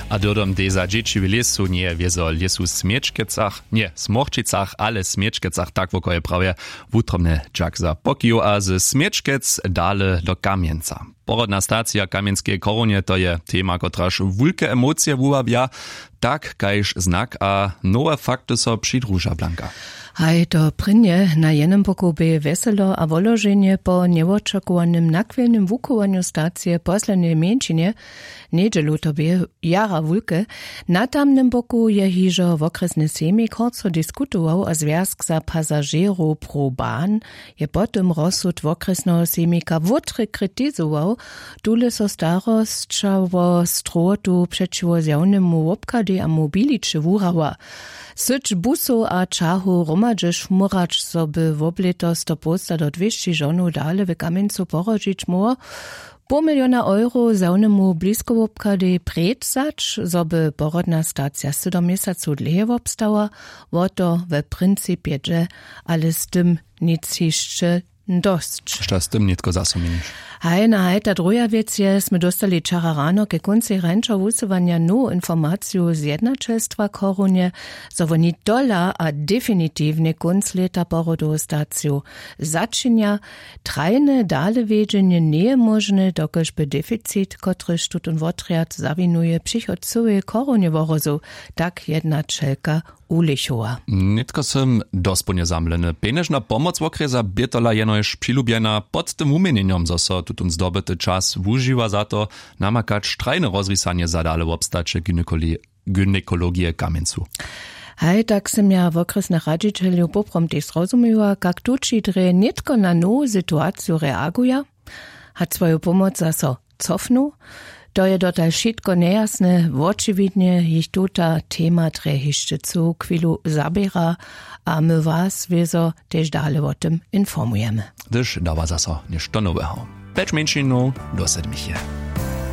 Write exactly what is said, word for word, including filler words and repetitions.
A dyrdom dej za dźěći w lěsu njeje wězo lěsu w smječkecach nje smorčicach ale w smječkecach tak woko je prawje. Wutrobnje dźak za pokiju a ze smječkec dale do kamjenca. Porodna stacija w kamjenskeje chorunje to je tema kotraž wulke emocije wuwabja, tak kaž znak a nowe fakty so přidruža blanka. Haj to prěnje na jenym boku bě wjeselo a woloženje po njewočakowanym nachwilnym wuchowanju stacije poslednjej mjeńšinje njedźelu to bě jara wulke. Na tamnym boku je hižo wokrjesny sejmik horco diskutował a zwjazk za pasažerow proban je po tym rozsud wokrjesneho sejmika wótre kritizował. Tule so starosća wo strowotu přećiwo zjawnemu wobchadej a mobiliće wuhrała. Syć busow a ćahow hromadźe šmurać zo by woblěto sto połsta do dwěsći žonow dale w kamjencu porodźić móhło. Poł miliona euro zjawnemu bliskowobchadej prědwzać zo by porodna stacija sydom měsacow dlěje wobstała. Wo to we principje dźe, ale z tym nic hišće dosć. Što z tym nětko zaso měniš? Haj na haj ta druha wěc je smy dóstali wčera rano ke kóncej rańšeho wusyłanja nowu informaciju z jednaćelstwa chorunje, zo woni tola a definitiwnje kónc lěta porodowu staciju začinja. Trajne dalewjedźenje njeje móžne dokelž by deficit kotryž tutón wotrjad zawinuje přichod cyłeje chorunje wohrozył, tak jednaćelka. Ulichowa. Nětko sym dospołnje zamleny pjenježna pomoc wokrjesa bě tola jenož přilubjena pod tym wuměnjenjom zo so tutón zdobyty čas wužiwa za to, namakać trajne rozrisanje za dale wobstaće gynekologije w kamjencu. Haj tak sym ja wokrjesnych radźićeljow poprawom tež zrozumiła kak tući drje nětko na nowu situaciju reaguja, hač swoju pomoc zaso cofnu. To je dotal wšitko njejasne wočiwidnje jich tuta tema drje hišće cyłu chwilu zaběra, a my was wězo tež dale wo tym informujemy. Hdyž dawa zaso něšto noweho, pjeć mjeńšinow do sedmiche.